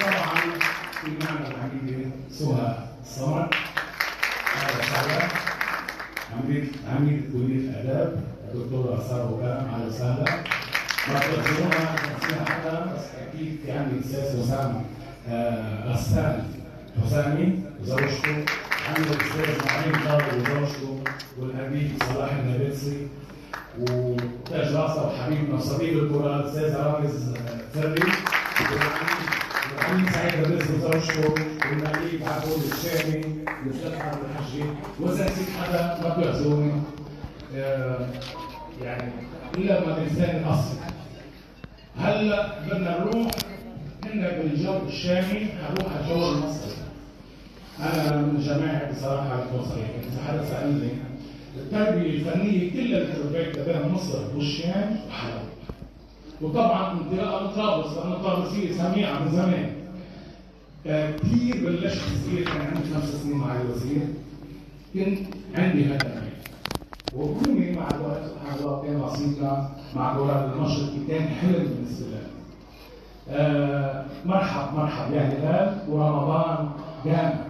طبعا في معنا العميدة سهى الصمد، أهلا وسهلا. عميد كلية الآداب الدكتورة سارة وكرم، أهلا وسهلا. ما تقدرونا نسينا حدا، بس أكيد في عندي الأستاذ وسام غسان حسامي وزوجته، عندي الأستاذ معين طارق وزوجته، والأبي صلاح النابلسي، وتاج راسه وحبيبنا وصديق الكرة الأستاذ رامز فري، والعميد سعيد الرزق وزوجته، والنقيب عبود الشامي، والأستاذ عبد الحجي، وإذا نسيت حدا ما بيعذروني يعني إلا ما الإنسان الأصلي. هلا بدنا نروح هنا بالجو الشامي، حنروح على الجو المصري. أنا من جماعة بصراحة أكون صريح، إذا حدا سألني التربية الفنية كلها اللي تربيت بين مصر والشام وحلب. وطبعا انطلاقا من طرابلس، لأن طرابلسية سميعة من زمان. كثير بلشت صغير، كان عندي 5 سنين مع الوزير، كنت عندي هدفين. وكوني مع الوقت سبحان الله كان نصيبنا مع دوران المشرقي، كان حلم بالنسبة لي. مرحب يا هلال، ورمضان جامع.